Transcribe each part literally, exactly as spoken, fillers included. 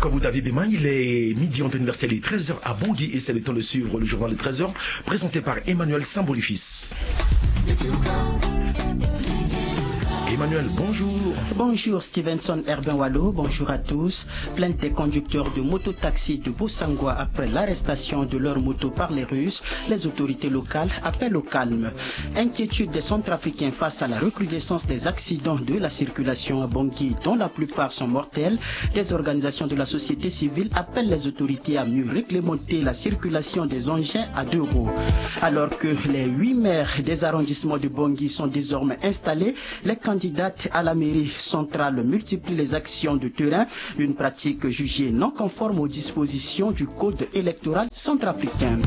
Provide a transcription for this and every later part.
Comme vous l'avez bien, il est midi en temps universel et treize heures à Bangui et c'est le temps de suivre le journal de treize heures présenté par Emmanuel Sambolifis. Emmanuel, bonjour. Bonjour Stevenson Herbin Walo, bonjour à tous. Plainte des conducteurs de mototaxi de Bossangwa après l'arrestation de leur moto par les Russes. Les autorités locales appellent au calme. Inquiétude des Centrafricains face à la recrudescence des accidents de la circulation à Bangui, dont la plupart sont mortels. Des organisations de la société civile appellent les autorités à mieux réglementer la circulation des engins à deux roues. Alors que les huit maires des arrondissements de Bangui sont désormais installés, les candidates à la mairie centrale multiplient les actions de terrain, une pratique jugée non conforme aux dispositions du code électoral centrafricain.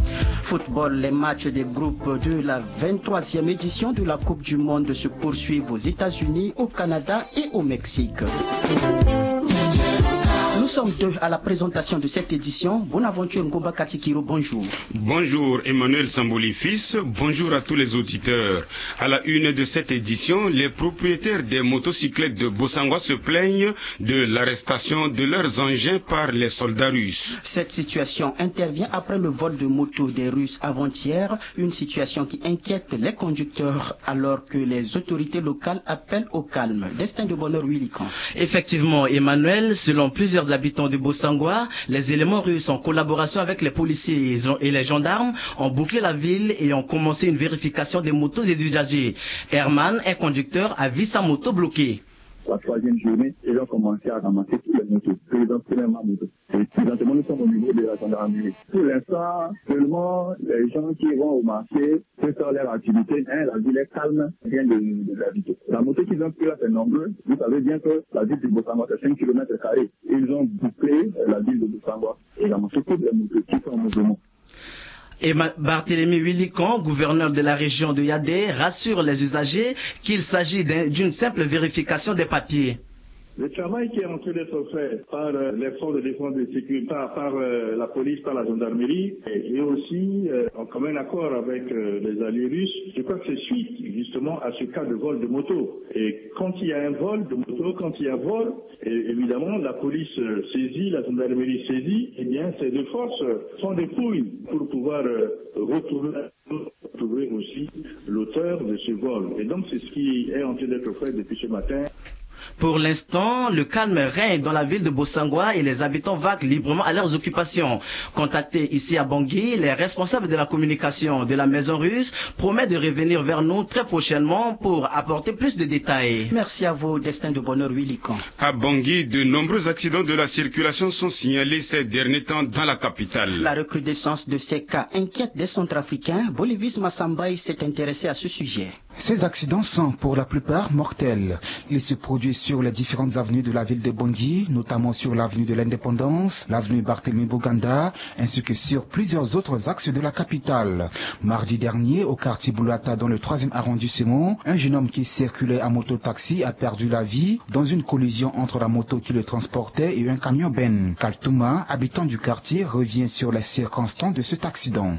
Football, les matchs des groupes de la vingt-troisième édition de la Coupe du Monde se poursuivent aux États-Unis, au Canada et au Mexique. Nous sommes deux à la présentation de cette édition. Bonaventure Ngomba Katikiro, bonjour. Bonjour Emmanuel Samboli Fils, bonjour à tous les auditeurs. À la une de cette édition, les propriétaires des motocyclettes de Bossangwa se plaignent de l'arrestation de leurs engins par les soldats russes. Cette situation intervient après le vol de moto des Russes avant-hier, une situation qui inquiète les conducteurs alors que les autorités locales appellent au calme. Destin de bonheur, Willy Can. Effectivement, Emmanuel, selon plusieurs habitants de Bossangwa, les éléments russes en collaboration avec les policiers et les gendarmes ont bouclé la ville et ont commencé une vérification des motos et usagers. Herman, un conducteur, a vu sa moto bloquée. La troisième journée, ils ont commencé à ramasser tous les motos. Ils ont pris ma moto. Et présentement, nous sommes au niveau de la gendarmerie. Pour l'instant, seulement les gens qui vont au marché peuvent faire leur activité. Hein, la ville est calme, rien de, de gravité. La moto qu'ils ont pris là, c'est nombreux. Vous savez bien que la ville de Bossangwa, c'est cinq kilomètres carrés. Ils ont bouclé la ville de Bossangwa et ramassé toutes les motos qui sont en mouvement. Et Barthélemy Willy Can, gouverneur de la région de Yaoundé, rassure les usagers qu'il s'agit d'une simple vérification des papiers. Le travail qui est en train d'être fait par les forces de défense et de sécurité, par, par la police, par la gendarmerie, et aussi en commun accord avec les alliés russes, je crois que c'est suite justement à ce cas de vol de moto. Et quand il y a un vol de moto, quand il y a vol, et évidemment la police saisit, la gendarmerie saisit, eh bien ces deux forces font des fouilles pour pouvoir retrouver trouver aussi l'auteur de ce vol. Et donc, c'est ce qui est en train d'être fait depuis ce matin. Pour l'instant, le calme règne dans la ville de Bossangwa et les habitants vaquent librement à leurs occupations. Contactés ici à Bangui, les responsables de la communication de la Maison Russe promettent de revenir vers nous très prochainement pour apporter plus de détails. Merci à vous, Destin de Bonheur Willy Can. À Bangui, de nombreux accidents de la circulation sont signalés ces derniers temps dans la capitale. La recrudescence de ces cas inquiète des Centrafricains. Bolivis Massambaye s'est intéressé à ce sujet. Ces accidents sont pour la plupart mortels. Ils se produisent sur les différentes avenues de la ville de Bangui, notamment sur l'avenue de l'Indépendance, l'avenue Barthélemy Boganda, ainsi que sur plusieurs autres axes de la capitale. Mardi dernier, au quartier Boulata, dans le troisième arrondissement, un jeune homme qui circulait en mototaxi a perdu la vie dans une collision entre la moto qui le transportait et un camion benne. Kaltouma, habitant du quartier, revient sur les circonstances de cet accident.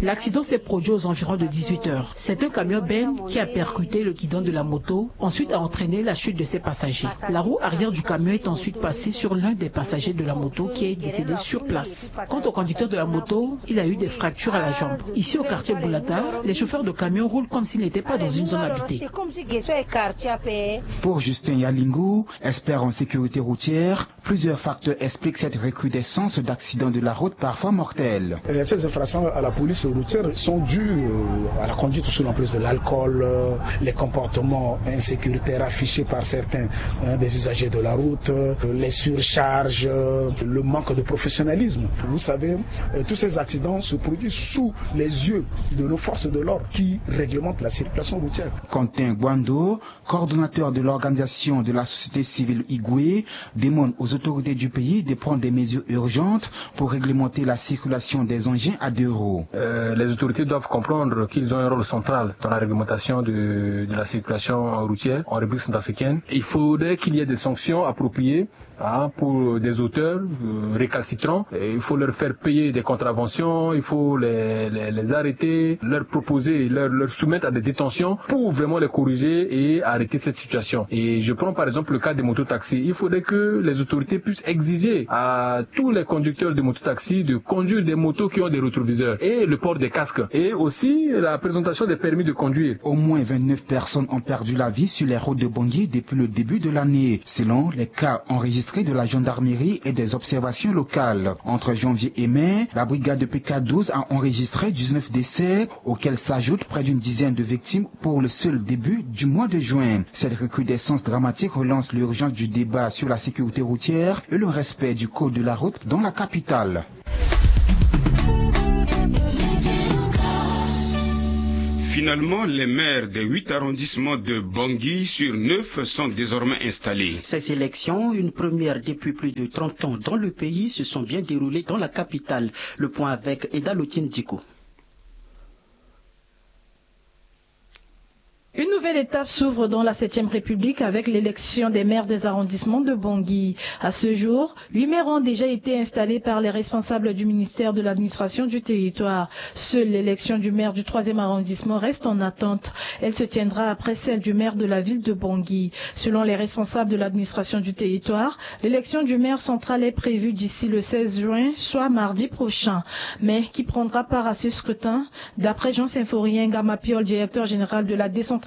L'accident s'est produit aux environs de dix-huit heures. C'est un camion benne qui a percuté le guidon de la moto, ensuite a entraîné la chute de ses passagers. La roue arrière du camion est ensuite passée sur l'un des passagers de la moto qui est décédé sur place. Quant au conducteur de la moto, il a eu des fractures à la jambe. Ici au quartier Boulata, les chauffeurs de camions roulent comme s'ils n'étaient pas dans une zone habitée. Pour Justin Yalingu, expert en sécurité routière, plusieurs facteurs expliquent cette recrudescence d'accidents de la route parfois mortels. Ces infractions à la police routière sont dues à la conduite sous l'emprise de l'alcool, les comportements insécuritaires affichés par certains des usagers de la route, les surcharges, le manque de professionnalisme. Vous savez, tous ces accidents se produisent sous les yeux de nos forces de l'ordre qui réglementent la circulation routière. Quentin Guando, coordonnateur de l'organisation de la société civile Igwe, demande aux autorités du pays de prendre des mesures urgentes pour réglementer la circulation des engins à deux roues. Les autorités doivent comprendre qu'ils ont un rôle central dans la réglementation de la circulation routière en République centrafricaine. Il faudrait qu'il y ait des sanctions appropriées pour des auteurs récalcitrants. Il faut leur faire payer des contraventions, il faut les arrêter, leur proposer, leur soumettre à des détentions pour vraiment les corriger et arrêter cette situation. Et je prends par exemple le cas des mototaxis. Il faudrait que les autorités puissent exiger à tous les conducteurs de mototaxis de conduire des motos qui ont des rétroviseurs et le port des casques et aussi la présentation des permis de conduire. Au moins vingt-neuf personnes ont perdu la vie sur les routes de Bangui depuis le début de l'année, selon les cas enregistrés de la gendarmerie et des observations locales. Entre janvier et mai, la brigade de P K douze a enregistré dix-neuf décès, auxquels s'ajoutent près d'une dizaine de victimes pour le seul début du mois de juin. Cette recrudescence dramatique relance l'urgence du débat sur la sécurité routière et le respect du code de la route dans la capitale. Finalement, les maires des huit arrondissements de Bangui sur neuf sont désormais installés. Ces élections, une première depuis plus de trente ans dans le pays, se sont bien déroulées dans la capitale. Le point avec Eda Lotine Diko. Une nouvelle étape s'ouvre dans la septième République avec l'élection des maires des arrondissements de Bangui. À ce jour, huit maires ont déjà été installés par les responsables du ministère de l'administration du territoire. Seule l'élection du maire du troisième arrondissement reste en attente. Elle se tiendra après celle du maire de la ville de Bangui. Selon les responsables de l'administration du territoire, l'élection du maire central est prévue d'ici le seize juin, soit mardi prochain. Mais qui prendra part à ce scrutin ? D'après Jean Symphorien Ngamapiol, directeur général de la décentralisation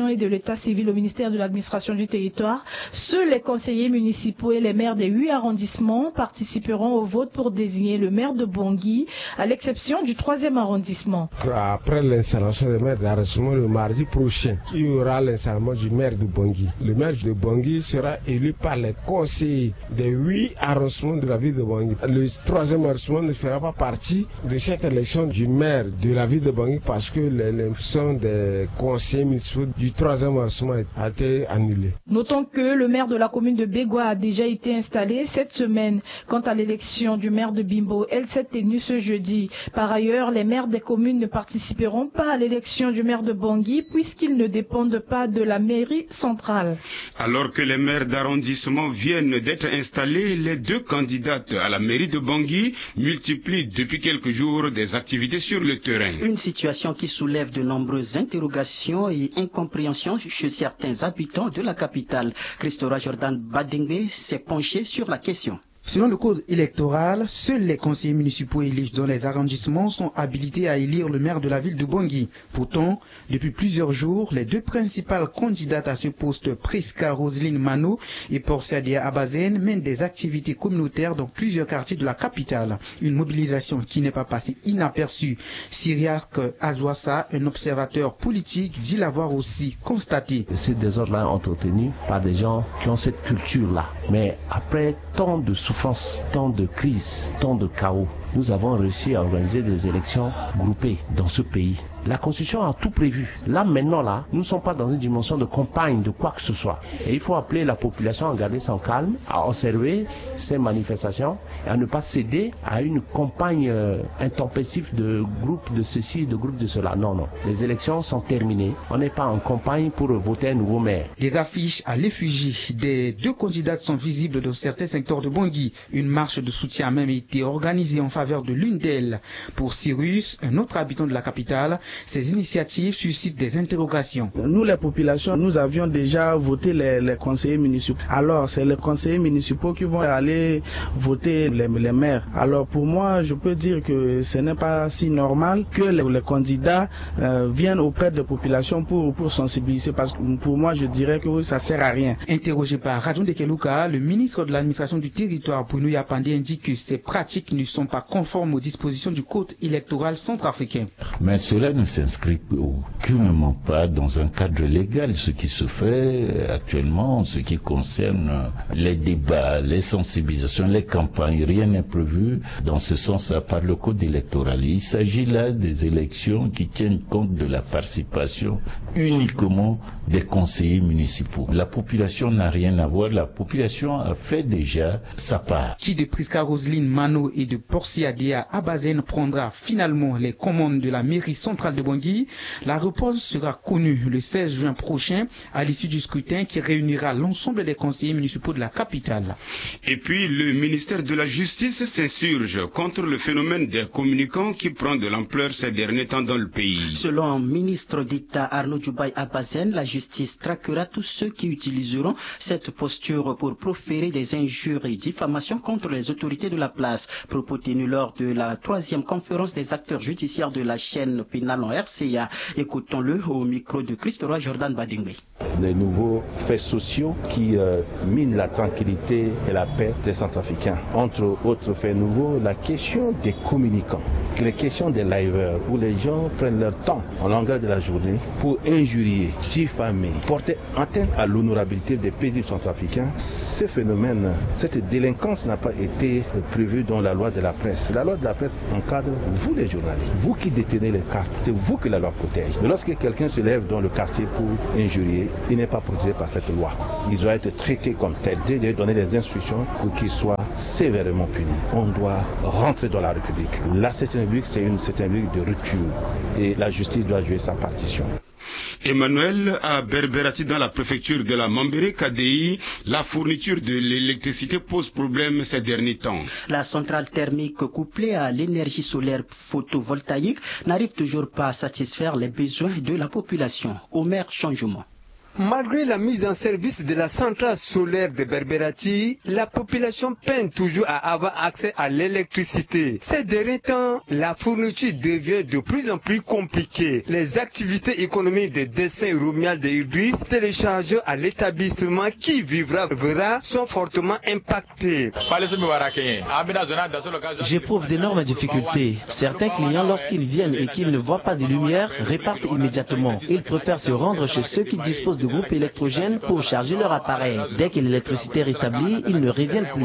et de l'état civil au ministère de l'administration du territoire, seuls les conseillers municipaux et les maires des huit arrondissements participeront au vote pour désigner le maire de Bangui, à l'exception du troisième arrondissement. Après l'installation des maires d'arrondissement le mardi prochain, il y aura l'installation du maire de Bangui. Le maire de Bangui sera élu par les conseillers des huit arrondissements de la ville de Bangui. Le troisième arrondissement ne fera pas partie de cette élection du maire de la ville de Bangui parce que l'élection des conseillers municipaux du troisième arrondissement a été annulée. Notons que le maire de la commune de Begoua a déjà été installé cette semaine. Quant à l'élection du maire de Bimbo, elle s'est tenue ce jeudi. Par ailleurs, les maires des communes ne participeront pas à l'élection du maire de Bangui puisqu'ils ne dépendent pas de la mairie centrale. Alors que les maires d'arrondissement viennent d'être installés, les deux candidates à la mairie de Bangui multiplient depuis quelques jours des activités sur le terrain. Une situation qui soulève de nombreuses interrogations et incompréhensions chez certains habitants de la capitale. Christora Jordan Badengbe s'est penché sur la question. Selon le code électoral, seuls les conseillers municipaux élus dans les arrondissements sont habilités à élire le maire de la ville de Bangui. Pourtant, depuis plusieurs jours, les deux principales candidates à ce poste, Prisca Roselyne Mano et Porcia Dea Abazen, mènent des activités communautaires dans plusieurs quartiers de la capitale. Une mobilisation qui n'est pas passée inaperçue. Cyriaque Azouassa, un observateur politique, dit l'avoir aussi constaté. Ce désordre-là est entretenu par des gens qui ont cette culture-là. Mais après tant de souffrances, tant de crises, tant de chaos, nous avons réussi à organiser des élections groupées dans ce pays. La Constitution a tout prévu. Là, maintenant, là, nous ne sommes pas dans une dimension de campagne de quoi que ce soit. Et il faut appeler la population à garder son calme, à observer ces manifestations et à ne pas céder à une campagne intempestive de groupes de ceci, de groupes de cela. Non, non. Les élections sont terminées. On n'est pas en campagne pour voter un nouveau maire. Les affiches à l'effigie des deux candidates sont visibles dans certains secteurs de Bangui. Une marche de soutien a même été organisée en faveur de l'une d'elles. Pour Cyrus, un autre habitant de la capitale, ces initiatives suscitent des interrogations. Nous, les populations, nous avions déjà voté les, les conseillers municipaux. Alors, c'est les conseillers municipaux qui vont aller voter les, les maires. Alors, pour moi, je peux dire que ce n'est pas si normal que les, les candidats euh, viennent auprès des populations pour, pour sensibiliser. Parce que pour moi, je dirais que ça sert à rien. Interrogé par Radio Ndekeluka, le ministre de l'administration du territoire, Bruno Yapandé, indique que ces pratiques ne sont pas conforme aux dispositions du Code électoral centrafricain. Mais cela ne s'inscrit aucunement pas dans un cadre légal, ce qui se fait actuellement en ce qui concerne les débats, les sensibilisations, les campagnes. Rien n'est prévu dans ce sens-là par le Code électoral. Il s'agit là des élections qui tiennent compte de la participation uniquement des conseillers municipaux. La population n'a rien à voir. La population a fait déjà sa part. Qui de Prisca Roselyne Mano et de Porcia Dea Abazen prendra finalement les commandes de la mairie centrale de Bangui? La réponse sera connue le seize juin prochain à l'issue du scrutin qui réunira l'ensemble des conseillers municipaux de la capitale. Et puis, le ministère de la Justice s'insurge contre le phénomène des communicants qui prend de l'ampleur ces derniers temps dans le pays. Selon le ministre d'État Arnaud Djoubaï Abazen, la justice traquera tous ceux qui utiliseront cette posture pour proférer des injures et diffamations contre les autorités de la place. Propos tenus lors de la troisième conférence des acteurs judiciaires de la chaîne pénale en R C A. Écoutons-le au micro de Christophe Jordan Badingbe. Les nouveaux faits sociaux qui euh, minent la tranquillité et la paix des Centrafricains. Entre autres faits nouveaux, la question des communicants, les questions des liveurs, où les gens prennent leur temps en longueur de la journée pour injurier, diffamer, porter atteinte à l'honorabilité des paisibles centrafricains. Ce phénomène, cette délinquance n'a pas été prévue dans la loi de la presse. La loi de la presse encadre vous les journalistes, vous qui détenez les cartes, c'est vous que la loi protège. Mais lorsque quelqu'un se lève dans le quartier pour injurier, il n'est pas protégé par cette loi. Il doit être traité comme tel. J'ai donné des instructions pour qu'il soit sévèrement puni. On doit rentrer dans la République. Là, c'est une République, c'est une, c'est une République de rupture. Et la justice doit jouer sa partition. Emmanuel, à Berberati, dans la préfecture de la Mambéré K D I, la fourniture de l'électricité pose problème ces derniers temps. La centrale thermique couplée à l'énergie solaire photovoltaïque n'arrive toujours pas à satisfaire les besoins de la population. Omer Changement. Malgré la mise en service de la centrale solaire de Berberati, la population peine toujours à avoir accès à l'électricité. Ces derniers temps, la fourniture devient de plus en plus compliquée. Les activités économiques de Dessin Romuald de Idriss, téléchargé à l'établissement qui vivra, verra, sont fortement impactées. J'éprouve d'énormes difficultés. Certains clients, lorsqu'ils viennent et qu'ils ne voient pas de lumière, repartent immédiatement. Ils préfèrent se rendre chez ceux qui disposent de groupes électrogènes pour charger leur appareil. Dès que l'électricité est rétablie, ils ne reviennent plus.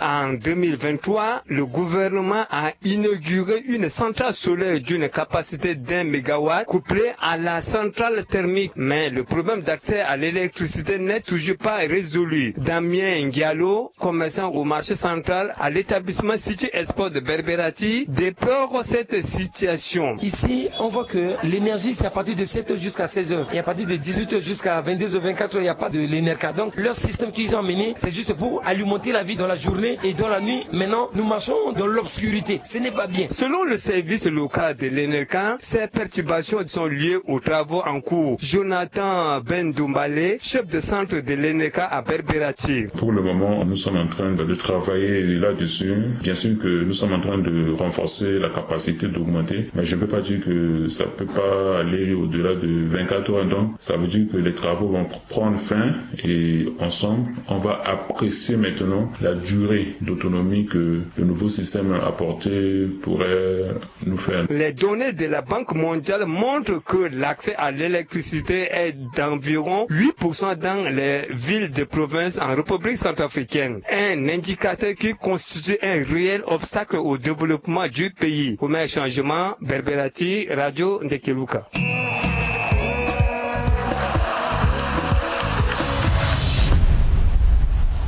En deux mille vingt-trois, le gouvernement a inauguré une centrale solaire d'une capacité d'un mégawatt couplée à la centrale thermique. Mais le problème d'accès à l'électricité n'est toujours pas résolu. Damien Diallo, commerçant au marché central à l'établissement City Export de Berberati, déplore cette situation. Ici, on voit que l'énergie, c'est à partir de sept heures jusqu'à seize heures. Et à partir de dix-huit heures jusqu'à vingt-deux heures, vingt-quatre heures, il n'y a pas de l'Enerca. Donc, leur système qu'ils ont amené, c'est juste pour alimenter la vie dans la journée et dans la nuit. Maintenant, nous marchons dans l'obscurité. Ce n'est pas bien. Selon le service local de l'Enerca, ces perturbations sont liées aux travaux en cours. Jonathan Ben Doumbale, chef de centre de l'Enerca à Berberati. Pour le moment, nous sommes en train de travailler là-dessus. Bien sûr que nous sommes en train de renforcer la capacité, d'augmenter, mais je ne peux pas dire que ça peut pas aller au-delà de vingt-quatre heures. Donc, ça veut dire que les travaux vont pr-, prendre fin et ensemble, on va apprécier maintenant la durée d'autonomie que le nouveau système apporté pourrait nous faire. Les données de la Banque mondiale montrent que l'accès à l'électricité est d'environ huit pour cent dans les villes de province en République centrafricaine. Un indicateur qui constitue un réel obstacle au développement du pays. Omer Changement, Berberati, Radio Ndekeluka.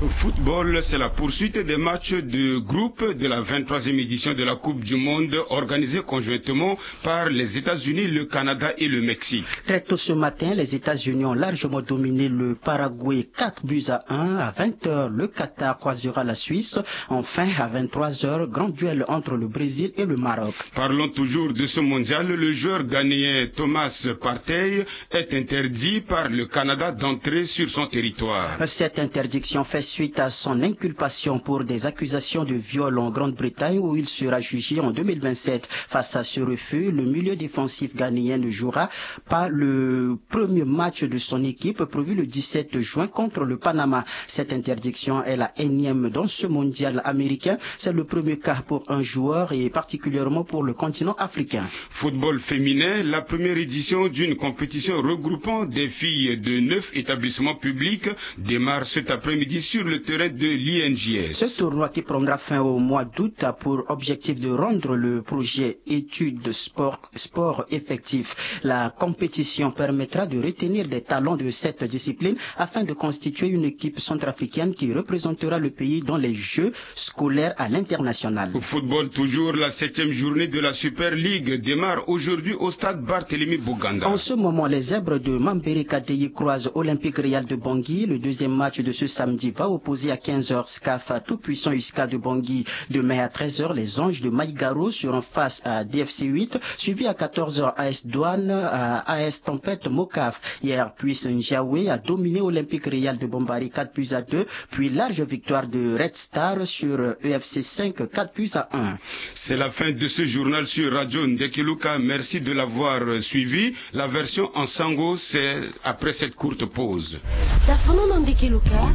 Football, c'est la poursuite des matchs de groupe de la vingt-troisième édition de la Coupe du Monde organisée conjointement par les États-Unis, le Canada et le Mexique. Très tôt ce matin, les États-Unis ont largement dominé le Paraguay, quatre buts à un. À vingt heures, le Qatar croisera la Suisse. Enfin, à vingt-trois heures, grand duel entre le Brésil et le Maroc. Parlons toujours de ce mondial. Le joueur ghanéen Thomas Partey est interdit par le Canada d'entrer sur son territoire. Cette interdiction fait suite à son inculpation pour des accusations de viol en Grande-Bretagne où il sera jugé en deux mille vingt-sept. Face à ce refus, le milieu défensif ghanéen ne jouera pas le premier match de son équipe prévu le dix-sept juin contre le Panama. Cette interdiction est la énième dans ce mondial américain. C'est le premier cas pour un joueur et particulièrement pour le continent africain. Football féminin, la première édition d'une compétition regroupant des filles de neuf établissements publics démarre cet après-midi sur le terrain de l'I N J S. Ce tournoi qui prendra fin au mois d'août a pour objectif de rendre le projet études sport, sport effectif. La compétition permettra de retenir des talents de cette discipline afin de constituer une équipe centrafricaine qui représentera le pays dans les Jeux scolaires à l'international. Au football toujours, la septième journée de la Super League démarre aujourd'hui au stade Barthélemy Boganda. En ce moment, les Zèbres de Mambereka Deyi croisent Olympique Real de Bangui. Le deuxième match de ce samedi va opposer à quinze heures SCAF à tout-puissant USCA de Bangui. Demain à treize heures, les Anges de Maïgaro seront face à D F C huit, suivi à quatorze heures A S Douane, euh, A S Tempête Mocaf. Hier, Puce Njawe a dominé Olympique Real de Bombari quatre buts à deux, puis large victoire de Red Star sur E F C cinq, quatre buts à un. C'est la fin de ce journal sur Radio Ndekeluka. Merci de l'avoir suivi. La version en sango, c'est après cette courte pause. Tafono na Ndekeluka,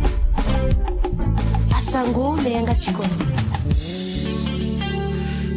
asango na yanga ti kodro.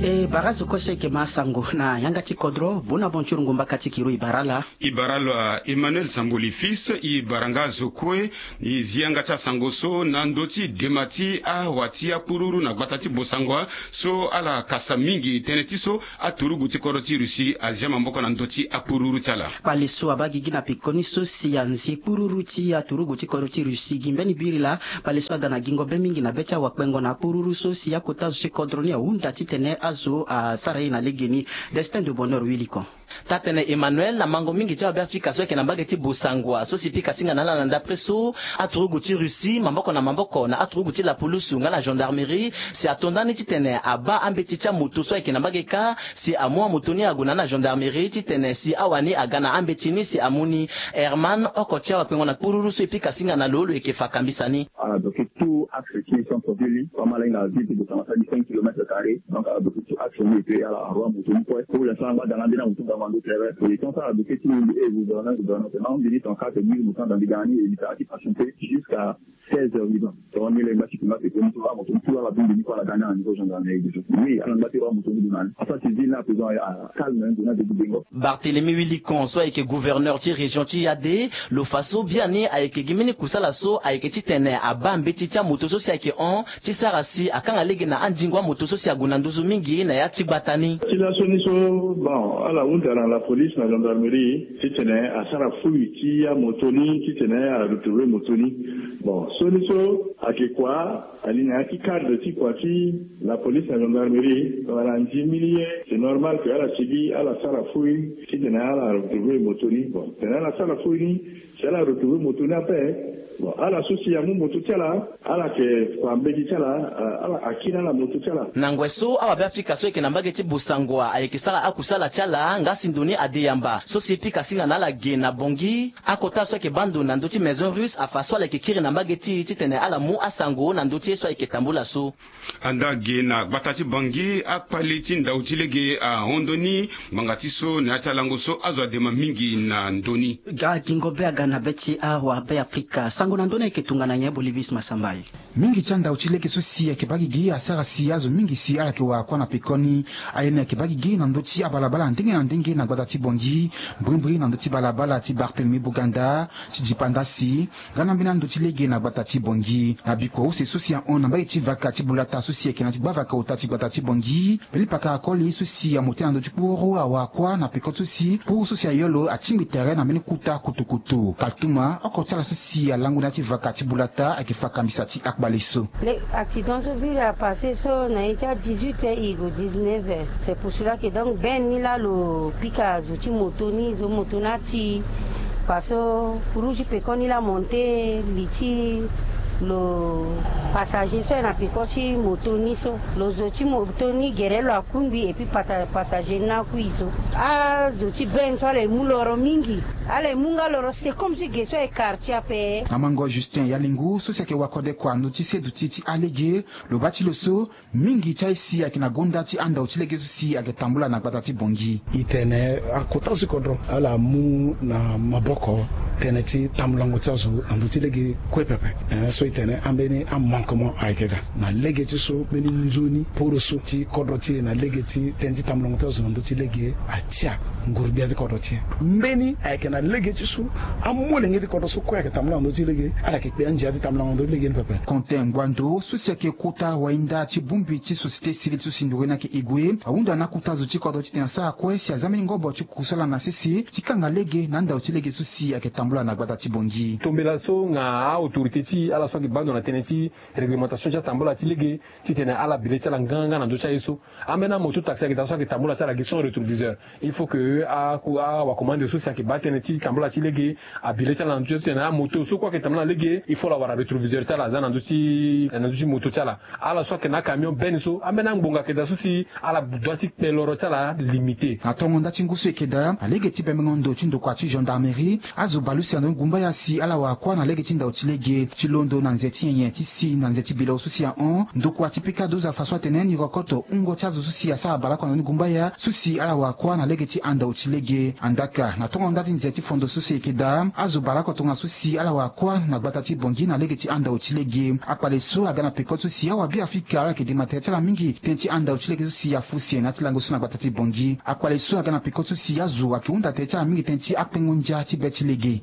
E bara zo kue so eke ma sango na yanga ti kodro. Bonaventure Ngomba Kati Kiro, e bara ala. E bara ala Emmanuel Samboli Fils. E bara nga zo kue. E zi yanga ti asango so na ndö ti dema ti awa ti akpururu na gbata ti Bossangoa so ala kasa mingi tënë ti so aturugu ti kodro ti Russie azia maboko na ndö ti akpururu ti ala. Kpale so abaa gigi na pekoni so si anzi kpururu ti aturugu ti kodro ti Russie gi mbeni biri laa. Kpale so aga na gingo be mingi na be ti awakpengo na akpururu so si akota zo ti kodro ni ahunda titene azo asara ye na legeni. Destin de Bonheur Wilikon. Taa-tënë Emmanuel, na mango mingi ti awabe-afrika so ayeke na mbage ti Bossangoa so si pika singa na ala na ndapre so aturugu ti Russie maboko na maboko na aturugu ti lapulusu nga na gendarmerie si ato ndani titene abaa ambeti ti amoto so ayeke na mbage kâ si amu amoto ni ague na ni na gendarmerie titene si awani aga na ambeti ni si amu ni. Herman, oko ti awakpengo na kpururu so e pika singa na lo, lo yeke fa kambisa ni. Ala bloqué tout axe ti centre ville, so ama lani na ville ti Bossangoa asara gi cinq kilomètres carrés. Donc ala bloqué tout axe ni et puis ala roi moto ni kue. Pour l'instant angba danga nde na moto ngangu ando tere. Et tant so ala bloqué ti mbi e gouverneur gouverneur tena mbi ni trente-quatre mille moto na dambi danga ni et mbi tara ti patienté jusqu'à seize heures huit ans. Donc ni lengba ti kunga pekoni so amoto ni tout ala bongbi ni kue ala ga ni na niveau gendarmerie déjà. Oui ala ngba ti roi moto ni gue na ni. Asara ti ville ni à présent a calme ndo ni adebi dengo. Barthélemy Wilikon so ayeke gouverneur ti région ti Yade, lo fa so biani ayeke gi mbeni kusala so ayeke titene abaa mbeti ti amoto so si ayeke hon ti sara si akanga lege na andingo amoto so si ague na nduzu mingi na ya ti gbata ni. Ti laso ni so, bon, ala hunda na la police na gendarmerie titene asara fouille ti amoto ni titene a retrouver moto ni. Bon, so ni so ayeke kua, ali na ya ti cadre ti kua ti la police na gendarmerie, ala ndimi ni ye. C'est normal que ala sigi ala sara fouille titene ala retrouver moto ni. Bon, tene ala sara fouille ni, si ala retrouver moto ni ape, bon, ala so si amu moto ti ala, ala yeke kua mbeti ti ala, ala akiri ala moto ti ala. Na ngoi so awabe-afrika so ayeke na mbage ti Bossangoa ayeke sara akusala ti ala nga si ndo ni ade yamba so si pika singa na ala ge na Bangui. Akota so ayeke baa ndo na ndö ti Maison Russe afa so ala yeke kiri na mbage ti e titene ala mu asango na ndö ti ye so ayeke tambula so. Anda ge na gbata ti Bangui, akpale ti ndau ti lege ahon ndö ni ngbanga ti so na ya ti alango so azo adema mingi na ndö ni. Ga gingo be aga na be ti awabe-afrika. Sango na ndö ni ayeke tongana nyen, Bolivis Masambai? Mingi ti andau ti lege so si ayeke baa gigi asara si azo mingi si ala yeke wara kuâ na pekoni. Aye ni ayeke baa gigi na ndö ti abalabala ndenge na ndenge na gbata ti Bangui, mbrimbri na ndö ti balabala ti Barthélemy Boganda, ti Dipanda si, nga na mbeni ando ti lege na gbata ti Bangui. Na bikua use so si ahon na mbage ti vaka ti Bulata so si ayeke na ti gbavaka ota ti gbata ti Bangui, mbeni pakara koli so si amu tënë na ndö ti kpuru awara kuâ na peko so si kpuru so si ayo lo atingbi tere na mbeni kuta kutukutu. Kaltuma, oko ti ala so si alango na ya ti vaka ti Bulata ayeke fa kambisa ti akpale so. Le accident so viri apassé so na ye ti a dix-huit heures e gue dix-neuf heures. C'est pour cela que donc ben ni laa lo pika zo ti moto ni, zo moto ni ati. Parce que rouge pekoni laa monté li ti Lo passager so aye na peko ti moto ni so, lo zo ti moto ni gere lo akungbi et puis pata passager ni akui so. Azo ti bene so ala ye mu loro mingi. Ala ye mu nga loro se comme ti ge so aye quartier ape. Amango Justin Yalingu so si ayeke wakode kua na ndö ti seduti ti alege, lo baa ti lo so mingi ti aye si ayeke na gonda ti andao ti lege so si ayeke tambula na gbata ti Bangui. E tene akota so ti kodro ala mu na maboko tënë ti tambulango ti azo na ndö ti lege kue pepe. Eh, so e tene ambeni amanquement ayeke ga na lege ti so mbeni nzoni poro so ti kodro ti e na lege ti tënë ti tambulango ti azo na ndö ti lege atia nguru-gbia ti kodro ti e. Mbeni ayeke na lege ti so amolenge ti kodro so kue ayeke tambula na ndö ti lege, ala yeke kpe andia ti tambulango na ndö ti lege ni pepe. Quentin Nguando so si ayeke kota wainda ti bongbi ti société civile so si nduru ni ayeke e gue, ahunda na akota zo ti kodro titene asara kue si aza mbeni ngobo ti kusala na sese ti kanga lege na andao ti lege so si ayeke tambula na gbata ti Bangui. Tombela so nga a-autorité ti e ala so ayeke baa ndo na tënë ti réglementation ti atambula ti lege, titene ala bi le ti ala nganga na ndö ti aye so. Ambeni amoto taxi ayeke daa so ayeke tambula ti ala gi sans rétroviseur. Il faut que a, a, awakomande so si ayeke baa tënë ti tambula ti lege, abi le ti ala na ndö ti titene amoto so kue ayeke tambula na lege, il faut lo awara rétroviseur ti ala aza na ndö ti, na ndö ti moto ti ala. Ala so ayeke na acamion bene so, ambeni angbonga ayeke daa so si ala dua ti kpe loro ti ala limité. Na tongo nda ti ngu so e yeke daa, na lege ti bembengo ndo ti ndokua ti gendarmerie, azo bale use na ndö ni gumbaya si ala wara kuâ na lege ti ndao ti lege ti londo na nze ti nyenye ti si na nze ti bilo so si ahon ndokua ti pika doza fa so atene ni rokoto wungo ti azo so si asara baleoko na ndö ni gumbaya so si ala wara kuâ na lege ti andao ti lege. Andaka na tongo nda ti nze ti fondo so si e yeke daa, azo baleoko tongana so si ala wara kuâ na gbata ti Bangui na lege ti andao ti lege. Akpale so aga na peko ti so si awabiafrika ala yeke dema tere ti ala mingi tënë ti andao ti lege so si afu se na ya ti lango so na gbata ti Bangui. Akpale so aga na peko ti so si azo ayeke hunda tere ti ala mingi tënë ti akpengo ndia ti be ti lege.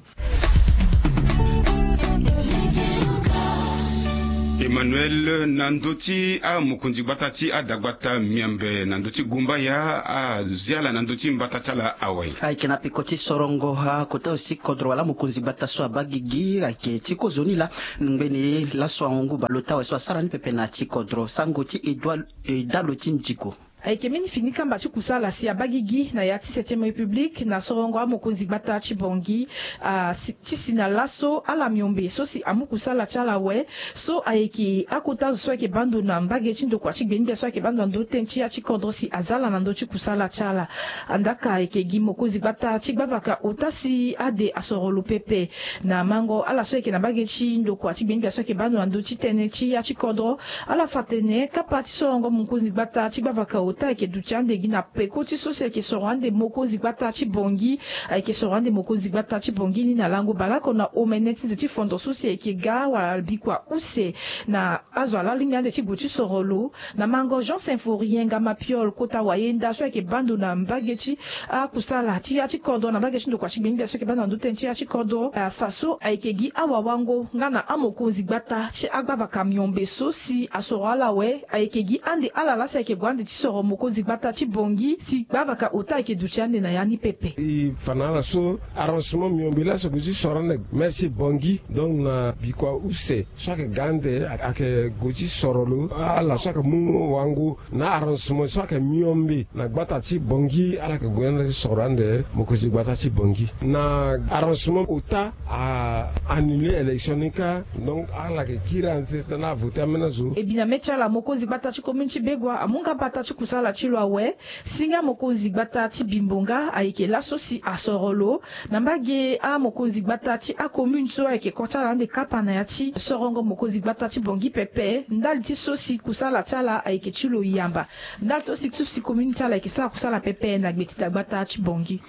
Emmanuel, na ndö ti amokonzi gbata ti adagbata Miombe na ndö ti gumbaya, azi ala na ndö ti mbata ti ala awe? Ayeke na peko ti sorongo akota zo ti kodro wala amokonzi gbata so abaa gigi ayeke ti kozoni laa ngbene laso ahon ngu baleota awe so asara ni pepe na ya ti kodro. Sango ti Edouard, Edalo ti Ndjigo. Ayeke mbeni fini kamba ti kusala si abaa gigi na ya ti septième république na sorongo amokonzi gbata ti Bangui, ah, si, ti si na laso ala Miombe so si amu kusala ti ala awe. So ayeke akota zo so ayeke baa ndo na mbage ti ndokua ti gbengbe so ayeke baa ndo na ndö ti tënë ti ya ti kodro si aza ala na ndö ti kusala ti ala. Andaka ayeke gi mokonzi gbata ti gbavaka ota si ade asoro lo pepe. Na mango ala so ayeke na mbage ti ndokua ti gbengbe so ayeke baa ndo na ndö ti tënë ti ya ti kodro, ala fa tene kapa ti sorongo mokonzi gbata ti gbavaka ota ayeke duti ande gi na peko ti so si ayeke soro ande mokonzi gbata ti Bangui. Ayeke soro ande mokonzi gbata ti Bangui ni na lango baleoko na omene ti nze ti fondo so si ayeke ga wala bikua use na azo alingbi ande ti gue ti soro lo. Na mango Jean Symphorien Ngama Piol, kota wayenda so ayeke baa ndo na mbage ti akusala ti ya ti kodro na mbage ti ndokua ti gbengbe so ayeke baa ndo na ndö ti tënë ti ya ti kodro, ah, fa so ayeke gi awawango nga na amokonzi gbata ti agbavaka Miombe so si asoro ala awe. Ayeke gi ande ala laa si ayeke gue ande ti soro mokonzi gbata ti Bangui si gbavaka ota ayeke duti ande na ya ni pepe. E fa na ala so arrangement Miombe laa so gue ti soro ande, mais si Bangui donc na bikua use so ayeke ga ande ayeke gue ti soro lo. Ala so ayeke mu wango na arrangement so ayeke Miombe na gbata ti Bangui, ala yeke gue ande ti soro ande mokonzi gbata ti Bangui. Na arrangement ota a annuler élection ni kâ, donc ala yeke kiri ande ti tene avoter ambeni azo. E bi na mê ti ala mokonzi gbata ti commune ti Begoua amu nga mbata ti kusala ti lo awe. Si nga mokonzi gbata ti Bimbonga ayeke laso si asoro lo na mbage amokonzi gbata ti acommune so ayeke ko ti ala ande kapa na ya ti sorongo mokonzi gbata ti Bangui pepe, ndali ti so si kusala ti ala ayeke ti lo yamba, ndali ti so si, so si commune ti ala ayeke sara kusala pepe na gbe ti dagbata ti Bangui.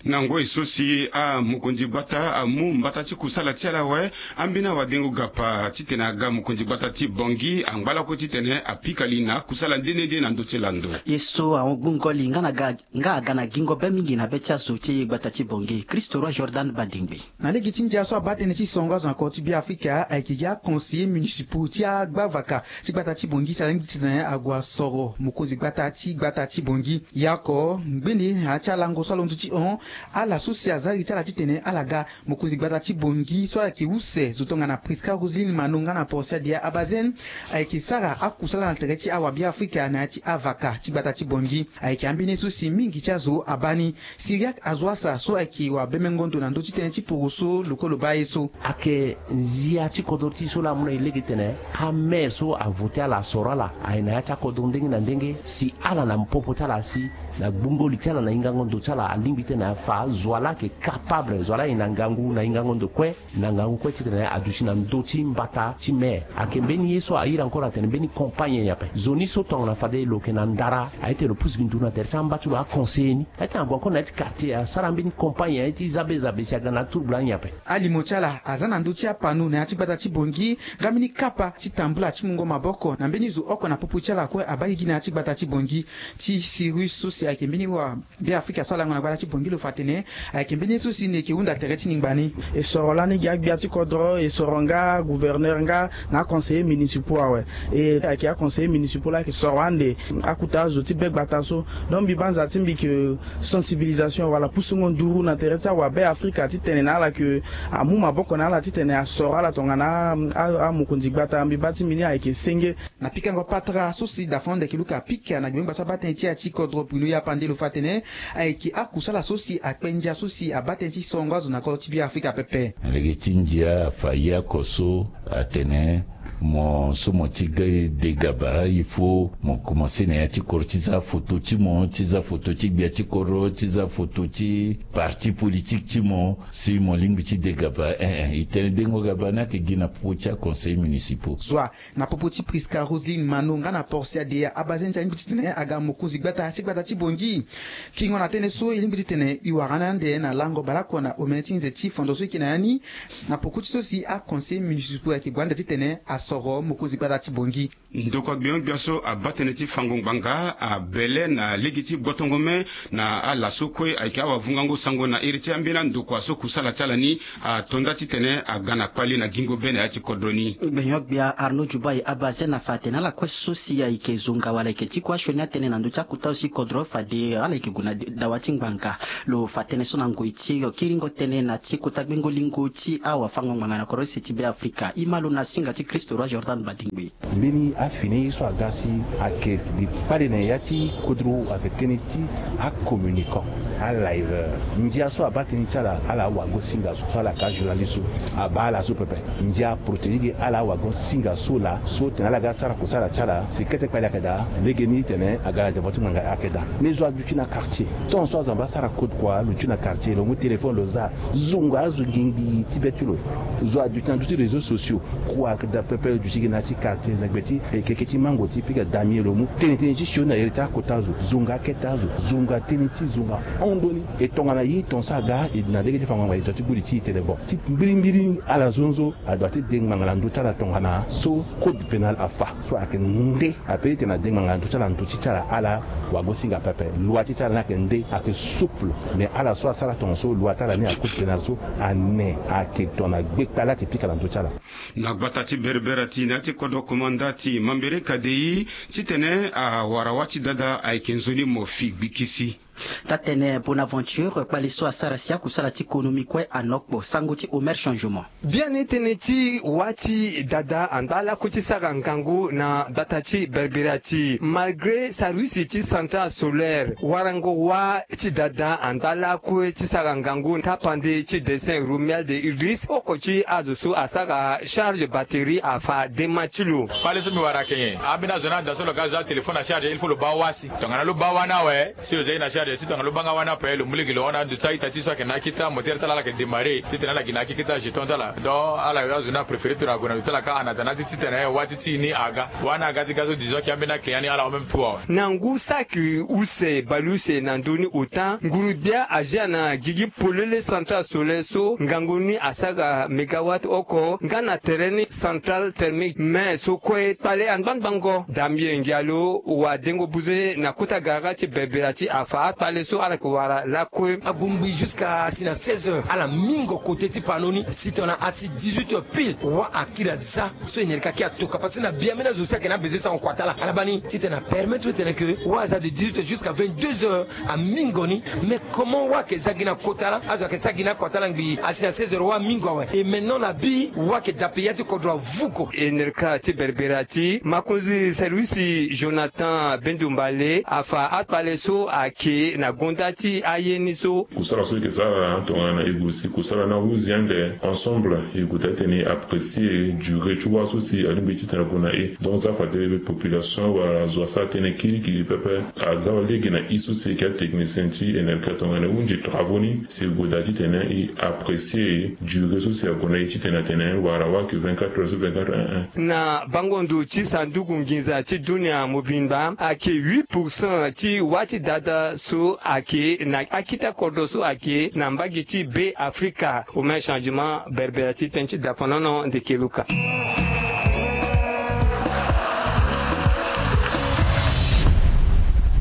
Na ngoi so si amokonzi gbata amu mbata ti kusala ti ala awe, ambeni awadengo gapa titene aga mokonzi gbata ti Bangui angba lakue titene apika li na akusala nde nde nde na ndö ti lando. Ye so ahon gbungo li nga na ga, nga aga na gingo be mingi na be ti azo ti e gbata ti Bangui. Christo Roi Jordan Badingbe. Na lege ti ndia so abaa tënë ti songo azo na kodro ti Beafrika ayeke gi aconseiller municipaux ti agbavaka ti gbata ti Bangui si alingbi titene ague asoro mokonzi gbata ti gbata ti Bangui. Yaoko ngbene na ya ti alango so alondo ti hon, ala so si aza iri ti ala titene ala ga mokonzi gbata ti Bangui so ayeke use zo tongana Prisca Roselyne Mano nga na Portia Dia Abazen ayeke sara akusala na tere ti awabiafrika na ya ti avaka. ti gbata ti Bangui. Ayeke ambeni ye so si mingi ti azo abaa ni. Syriaque Azoassa so ayeke wabemengo ndo na ndö ti tënë ti poroso lo kue lo baa ye so. Ayeke nzia ti kodro ti e so laa amu na e lege titene amaire so avote ala, asoro ala, aye na ya ti akodro ndenge na ndenge si ala na popo ti ala asi, na gbungo li ti ala, na hingango ndo ti ala, alingbi titene afa zo wa laa ayeke capable, zo wa laa aye na ngangu na hingango ndo kue, na ngangu kue titene aduti na ndö ti mbata ti maire. Ayeke mbeni ye so a iri encore atene mbeni campagne nyen ape. Zo ni so tongana fade lo yeke na ndara, aye ti lo pusu gi nduru na tere ti amba ti lo, aconseiller ni. Aye ti ague encore na ya ti quartier, asara mbeni campagne, aye ti zabe zabe si aga na aturbula ni ape. Alimo ti ala aza na ndö ti apano na ya ti gbata ti Bangui, nga mbeni kapa ti tambula ti mungo maboko na mbeni zo oko na popo ti ala kue abaa gigi na ya ti gbata ti Bangui. Ti Cyrus so si ayeke mbeni wa Beafrika so alango na gbata ti Bangui lo fa atene ayeke mbeni ye so si ni yeke hunda tere ti ningba ni. E soro lani gi agbia ti kodro, e soro nga gouverneur nga na aconseiller municipaux awe. E ayeke aconseiller municipaux laa ayeke soro ande akuta azo ti be gbata so. Donc mbi baa nza ti mbi ke sensibilisation wala pusungo nduru na tere ti awabe Afrika titene na ala ke amu maboko na ala titene asoro ala tongana a, a, amokonzi gbata. Mbi baa ti mbi ni ayeke senge. Na pikango patara so si Dafond ayeke luka apika na gbengba so abaa tënë ti ya ti kodro Bruno Yapande lo fa atene ayeke akusala so si akpe ndia so si abaa tënë ti sorongo azo na kodro ti Beafrika pepe. Na lege ti ndia afa ye oko so atene mo so mo ti ga de gaba, il faut mo komanse na ya ti kodro ti za foto ti mo, ti za foto ti gbia ti kodro, ti za foto ti parti politique ti mo, si mo lingbi ti de gaba. Eh, eh, e tene dengo gaba ni ayeke gi na popo ti aconseil municipaux. Zo wa na popo ti Prisca Roseline Mano nga na Porcia Deya Abaze, ndia lingbi titene aga mokonzi gbata ti gbata ti Bangui. Kingo na tënë so e lingbi titene e wara ni ande na lango baleoko na omene ti nze ti fondo so e yeke na ya ni, na poko ti so si aconseil municipaux ayeke gue ande titene asoro mokonzi gbata ti Bangui. Ndokua gbio gbia so abaa tënë ti fango ngbanga abele na lege ti gbotongo me na ala so kue ayeke awavungango sango na iri ti ambeni andokua so kusala ti ala ni ato nda titene aga na kpali na gingo be na ya ti kodro ni. Gbenyo-gbia Arnaud Dubai Abaze na fa atene ala kue so si ayeke zonga wala ayeke ti kue asioni atënë na ndö ti akuta so si kodro fade ala yeke gue na dawa ti ngbanga. Lo fa tënë so na ngoi ti e, yo kiringo tënë na ti kota gbengo lingo ti awafango ngbanga na kodro use ti Beafrika. E ma lo na singa ti Christ Roi Jordan Badingbe. Mbeni afini ye so aga si ayeke mbi kpale na ya ti kodro ayeke tënë ti acommunicant, alive. Ndia so abaa tënë ti ala, ala awago singa so, so ala ka journaliste so, abaa ala so pepe. Ndia protéger ge ala awago singa so laa, so tene ala ga sara kusala ti ala si kete kpali ayeke daa. Legeni tene aga na devant ti ngbanga ayeke daa. Mais zo aduti na quartier, tant so azo abaa sara code kua lo duti na quartier, lo mu téléphone lo za, zonga azo ngingbi ti be ti lo. Zo aduti na ndö ti réseaux sociaux. Kua ayeke daa pepe, lo duti gi na ya ti quartier na gbe ti, eh, keke ti mango ti pika damien lo mu tene tënë ti sioni na iri ti akota zo, zonga akete azo, zonga tënë ti zonga hon ndoni. E tongana ye ton so aga e na lege ti fango ngbanga e ton ti gbu li ti e tene bon ti mbirimbiri ala zonzo adoit ti de ngbanga na ndö ti ala tongana so code pénal afa. So ayeke nde ape ti tene ade ngbanga na ndö ti ala, ndö ti ti ala ala wago singa pepe. Loi ti ti ala ni ayeke nde, ayeke souple. Mais ala so asara tonga so loi ti ala ni, acode pénal so ane, ayeke tongana gbekpale ayeke pika na ndö ti ala. Na gbata ti Berbera ti na ya ti kodro komanda ti Mambere Kadei titene awara wâ ti dada ayeke nzoni mo fi gbikisi. Taa-tënë Bonaventure kpale so asara si akusala ti konomi kue anokpo. Sango ti Omer Changement. Biani tënë ti wâ ti dada anda lakue ti sara ngangu na gbata ti Berbera ti, malgré service ti centrale solaire, warango wâ ti dada anda lakue ti sara ngangu tapande ti dessin Romuald Idriss, oko ti azo so asara charge batterie afa dema ti lo. Kpale so mbi wara ayeke nyen? Ambeni azo ni ada so lo ga za téléphone na charge, il faut lo baa wâ si. Tongana lo baa wâ ni awe, si lo za ye na charge, si tongana lo baa nga wâ ni ape, lo mu lege lo hon na ndo ti a-ita ti so ayeke na akita, moteur ti ala ala yeke démarrer titene ala gi na akita jeton ti ala. Donc ala azo ni apréféré tongana ague na ndo ti ala ka, en attendant ti titene wâ ti ti e ni aga. Wâ ni aga ti ga so, disons que ambeni aclient ni ala hon même tour awe. Na ngu saki use bale use na ndö ni ota, nguru-gbia azia na gigi polele centrale solaire so ngangu ni asara mégawatt oko nga na tere ni centrale thermique. Mais so kue kpale angbangbango. Damien Ngialo, wadengo buze na kota gara ti Berbera ti afa. akpale so ala yeke wara lakue. Abongbi jusqu'à asi na seize heures ala mingo kote ti pano ni si tongana asi dix-huit heures pile wa akiri aza. So enerka ki atoka parce que na biame ni azo si ayeke na besoin sango kota la ala baa ni titene apermettre titene ke wa aza de dix-huit heures jusqu'à vingt-deux heures. Amingo ni. Mais comment wa ayeke za gi na kota la azo ayeke sa gi na kota la ngbii asi na seize heures wa amingo awe. Et maintenant na bi wa ayeke dape ya ti kodro avuko. Enerka ti berbera ti makonzi service jonathan bendumbale afa akpale so ayeke na gonda ti aye ni so. Kusala so e yeke sara tongana e gue si kusala ni ahunzi ande ensemble e gue daa titene e apprécier durée ti wa so si alingbi titene ague na e. Donc za fade population wala zo asara tënë kirikiri pepe. Aza wa lege na i so si e yeke atechnicien ti enerka tongana e hunzi travaux ni si e gue daa titene e apprécier durée so si ague na e titene atene wala wa ayeke vingt-quatre heures sur vingt-quatre heures. Na bango ndo ti sanduku nginza ti dunia mobimba ayeke huit pour cent ti wa ti dada so ayeke na akita kodro so ayeke na mbage ti be afrika. Omen changement berbera ti tënë ti dapanono ndeke luka.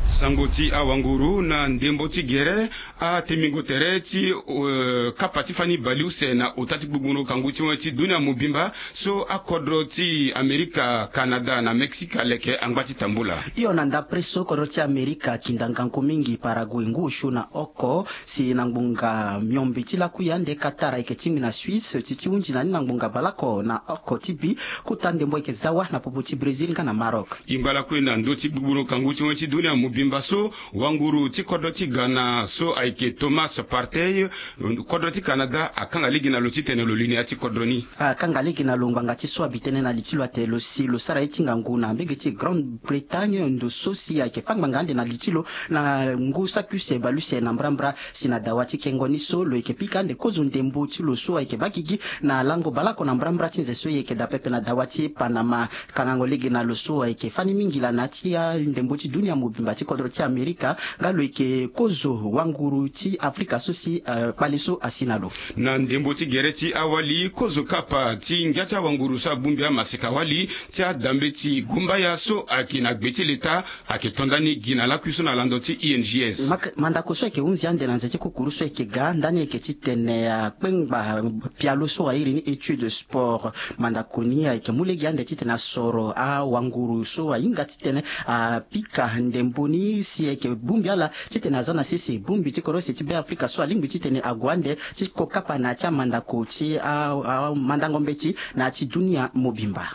Sango ti awanguru na ndembo ti gere. Atemingo tere ti kapa ti fani bale use na ota ti gbugbundu kangu ti wen ti dunia mobimba so akodro ti amerika kanada na mexique aleke angba ti tambula. Hio na ndapre so kodro ti amerika kinda ngangu mingi parague ngu osio na oko si na ngbonga miombe ti lakui ande katara ayeke tingbi na suisse ti ti hunzi na ni na ngbonga baleoko na oko ti bi. Kota ndembo ayeke za wa na popo ti brésil nga na maroc. Ingba lakue na ndö ti gbugbundu kangu ti wen ti dunia mobimba so wanguru ti kodro ti ghana so ayeke thomas partey kodro ti canada akanga lege na lo titene lo lini ya ti kodro ni. Akanga lege na lo ngbanga ti so abi tënë na li ti lo ate lo si lo sara ye ti ngangu na mbege ti grande bretagne ndo so si ayeke fâ ngbanga ande na li ti lo na ngu saki use baleuse na mbrambra. Si na dawa ti kengo ni so lo yeke pika ande kozo ndembo ti lo so ayeke baa gigi na lango baleoko na mbrambra ti nze so e yeke daa pepe na dawa ti panama. Kangango lege na lo so ayeke fani mingi laa na ya ti ndembo ti dunia mobimba ti kodro ti amerika nga lo yeke kozo wanguru ti afrika so si kpale so asi na lo. Na ndembo ti gere ti awali kozo kapa ti ngia ti awanguru so abongbi amaseka wali ti adambeti gumbaya so ayeke na gbe ti leta ayeke to ndani gi na lakui so na lando ti ings. Mandako so ayeke hunzi ande na nze ti kukuru so ayeke ga ndani ayeke titene akpengba pialo so airi ni étude sport. Mandako ni ayeke mu lege ande titene asoro awanguru so ahinga titene apika ndembo ni si ayeke bongbi ala titene aza na sese bongbi ti kodro use ti be afrika so alingbi titene ague ande ti kokapa na ya ti amandako ti amandango mbeti na ya ti dunia mobimba.